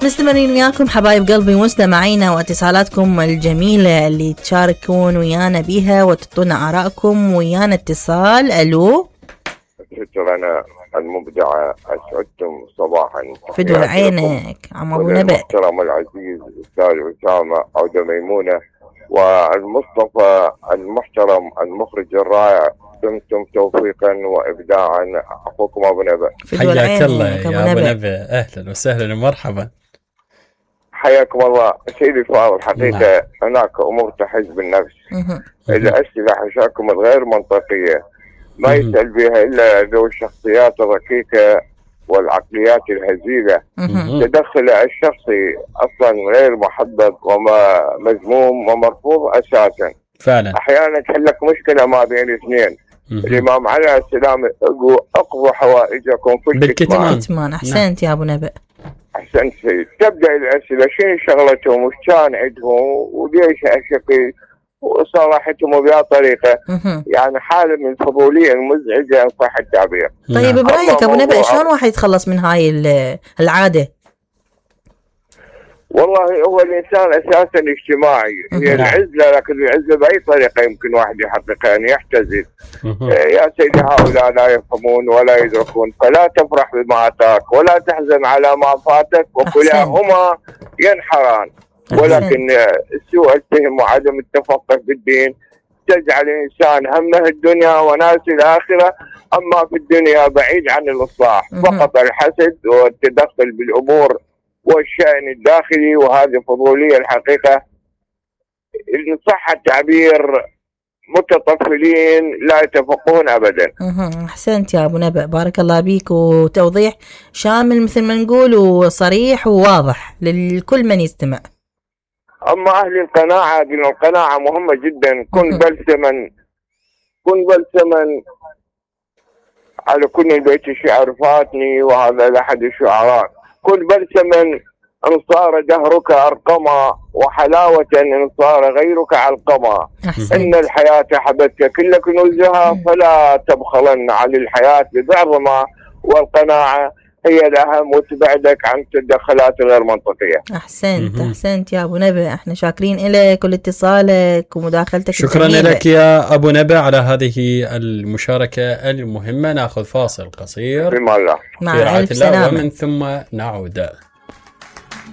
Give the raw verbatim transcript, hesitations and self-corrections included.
مستمرين وياكم حبايب قلبي مستمعينا واتصالاتكم الجميلة اللي تشاركون ويانا بيها وتعطونا آرائكم ويانا. اتصال ألو. شكرا أنا المبدعة أسعدتم صباحا. فدوا عينك عم أبو نبأ. المحترم العزيز أستاذ أسامة عودة ميمونة والمصطفى المحترم المخرج الرائع، دمتم توفيقا وإبداعا. أخوكم أبو نبأ. حياك الله يا أبو نبأ، أهلا وسهلا ومرحبا. حياكم الله سيدي فاضل. حقيقة هناك أمور تحز بالنفس، الأسئلة حشاكم الغير منطقية ما يسأل بها إلا ذو الشخصيات الركيكة والعقليات الهزيلة. تدخل الشخصي أصلا غير محبب وما مذموم ومرفوض أساسا. فعلا أحيانا تحلك مشكلة ما بين اثنين. الإمام عليه السلام اقضوا حوائجكم في بالكتمان. أحسنت يا أبو نبأ. أحسنت سيد. تبدأ الأسئلة شنو شغلتهم وش كان عندهم وليش أشقي وصراحتهم بها طريقة يعني حالة من الفضولية المزعجة إن صح التعبير. طيب برأيك أبو نبأ شلون واحد يتخلص من هاي العادة؟ والله هو الإنسان أساسا اجتماعي، هي العزلة، لكن العزلة بأي طريقة يمكن واحد يحققها أن يحتزل. يا سيدي هؤلاء لا يفهمون ولا يدركون، فلا تفرح بما أتاك ولا تحزن على ما فاتك وكلاهما ينحران. ولكن سوء الفهم وعدم التفقه بالدين تجعل الإنسان همه الدنيا وناسي الآخرة، أما في الدنيا بعيد عن الإصلاح، فقط الحسد والتدخل بالأمور والشأن الداخلي، وهذه فضولية الحقيقة إن صح التعبير متطفلين لا يتفقهون أبدا. أحسنت يا أبو نبأ، بارك الله بيك، وتوضيح شامل مثل ما نقول وصريح وواضح للكل من يستمع. أما أهل القناعة، قلنا القناعة مهمة جدا. كن بلسما كن بلسما على كل البيت شعر فاتني، وهذا لأحد الشعراء. كن بلسما إن صار دهرك أرقما، وحلاوة إن صار غيرك علقما. إن الحياة حبتك كل كنوزها، فلا تبخلن عن الحياة ببعضما، والقناعة هي الأهم وتبعدك عن التدخلات الغير منطقية. أحسنت أحسنت يا أبو نبأ، احنا شاكرين لك واتصالك ومداخلتك. شكرا لك يا أبو نبأ على هذه المشاركة المهمة. نأخذ فاصل قصير بما الله مع ألف سلامة ومن ثم نعود.